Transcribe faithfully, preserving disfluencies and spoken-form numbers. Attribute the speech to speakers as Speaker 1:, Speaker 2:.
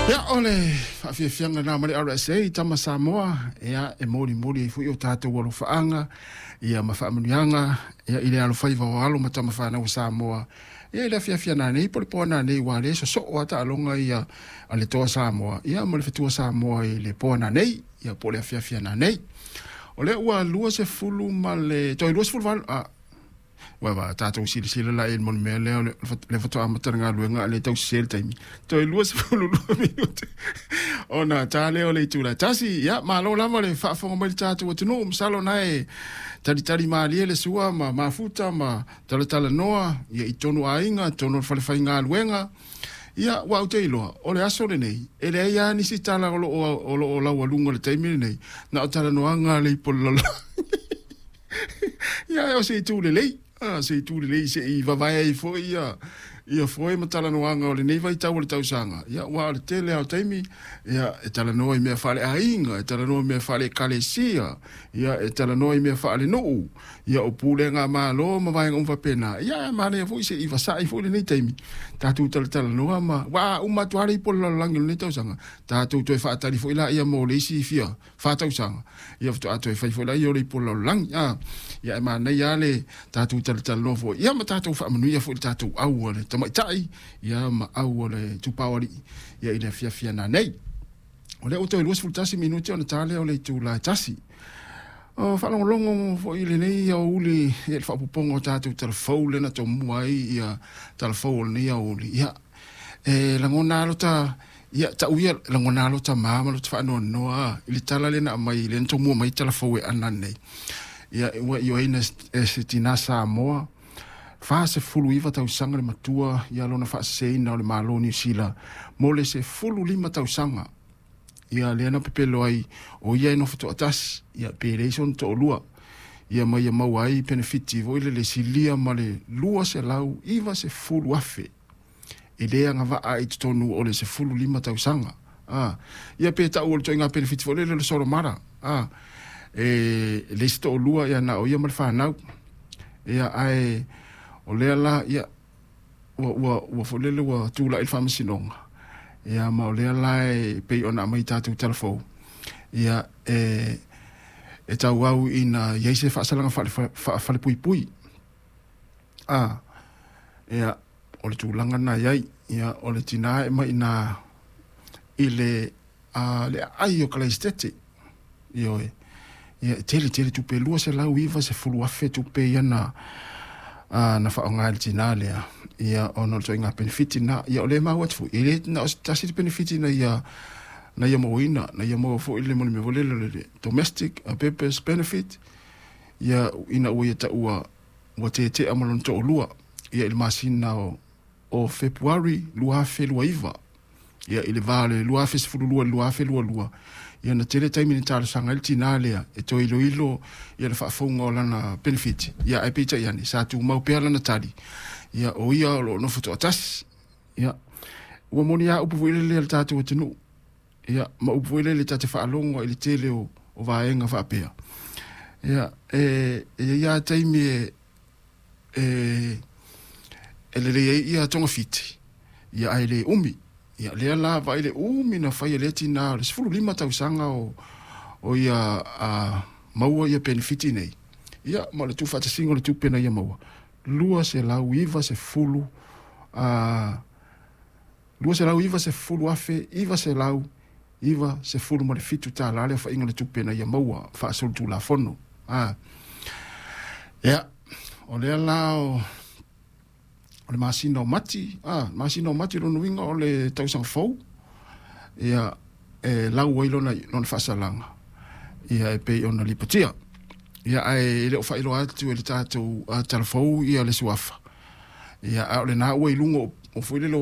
Speaker 1: Ia, o le faafiafiaga lena ma le R S A Tama Samoa, ia e molimoli ai foi o tatou alofaaga ia ma faamanuiaga ia i le alofaiva o alo ma tama fanau o Samoa. Ia i le afiafi nanei po o le poa nanei, ua le sosoo a taaloga ia a le Toa Samoa ia ma le Fetua Samoa i le poa nanei ia po o le afiafi nanei. O lea ua luasefulu ma le toe luasefulu valu a ua va tatou silasila la i le mea lea o le faatoa amata le galuega a le tausese le taimi toe luasefulu lua minute ona ta lea o le itula e tasi. Ia malo lava le faafofoga mai le tatou atunuu, masalo na e talitali malie le sua ma mafuta ma talatalanoa ia i tonu aiga tonu o le falefaigaluega. Ia ua ou te iloa o le aso lenei e leai lava nisi tala o loo o loo laualuga o le taimi lenei na o talanoaga le ipo le lalolagi. Ia o se itu lelei, a se itu lelei se i vavae ai foi ia ia foe ma talanoaga o lenei vaitau o le tausaga. Ia ua o le tele lava o taimi ia e talanoa i mea faaleaiga, e talanoa i mea faale-ekalesia, ia e talanoa i mea faalenuu, ia o pulega malo ma vaega uma faapena. Ia e manaia foi se i vasa'i foi lenei taimi tatou talatalanoa ma ua uma atu lava le ipu o le lalolagi o lenei tausaga, tatou toe faatali foi laia mo le isi fia fa tausaga ia faatoa toe fai foi laia o le ipu o le lalolagi. A ia e manaia lava le tatou talatalanoa foi ia ma tatou faamanuia foi i le tatou au a le tamaitai ia ma au o le tupaoalii ia i le afiafi nanei. O lea ua toe luasefulu tasi minute ona ta lea o le itula e tasi. O faalogologo foi i lenei aoauli ia le faaopoopoga o tatou talafou lea na tomua ai ia talafou o lenei aoauli. Ia e lagona lava lota ia tau ia lagona lava lota ma ma lota faanoanoa i le tala lea na aumai lea na tomua mai talafou e ana nei. Ia ua ioeina e se tina Samoa fasefulu iva tausaga le matua ia lona faaseseina o le Malo o Niu Sila mo le sefulu lima tausaga. Ia lea na pepelo ai o ia e nofo toatasi ia pe leai sona toalua ia ma ia maua ai penefiti foi lele silia ma le lua selau iva sefulu afe e le agavaa i totonu o le sefulu lima tausaga. A ia pe tau o le ituaiga penefiti foi lele o le solomara a e le isi toalua ia na o ia ma le fanau. Ia ae o lea la ia ua ua ua foi lele ua tulai le faamasinoga ia ma o lea la e pei ona aumai tatou talafou ia e e tauau ina iai se faasalaga faafalepuipui. A ia o le tulaga na iai ia o le tina e mai ina i le a le aai o Kalaisitete ioe ia e tele tele tupe lua selau iva sefulu afe tupe ia na a na faaaoga e le tina lea ia ona o le ituaiga penefiti na ia o lea e maua atu foi e le na o se tasi le penefiti na ia na ia mauaina na ia maua foi le mea foi lele le domestic purpose benefit ia ina ua ia taua ua tetea ma lona toalua ia i le masina o o Fepuari lua afe lua iva ia i le va o le lua afe sefulu lua i le lua afe lua lua ia na tele taimi na talosaga ai le tina lea e toe iloilo ia le faafouga o lana penefiti ia ae peitai ane sa tumau pea lana tali ia o ia o loo nofo toatasi. Ia ua moni a upu foi lele a le tatou atunuu ia ma upu foi lele ta te faalogo i le tele o, o vaega faapea ia e e iai lava taimi e e e lelei ai ia togafiti ia ae le umi. Ia lea la vaai le umi na fai e lea tina o le sefulu lima tausaga o o ia a maua ia penefiti nei ia ma o le tuufaatasiga o le tupe na ia maua lua selau iva sefulu a lua selau iva sefulu afe iva selau iva sefulu ma le fitu tālā le aofaiga o le tupe na ia maua faasolitulafono. A ia o lea la o o le masina o Mati, a masina o Mati lona uiga o le tausaga fou ia e lau ai lona lona faasalaga ia e pei ona lipotia. Ia ae e le o faailoa atu e le tatou talafou ia le suafa ia a o lena ua i luga o foi lele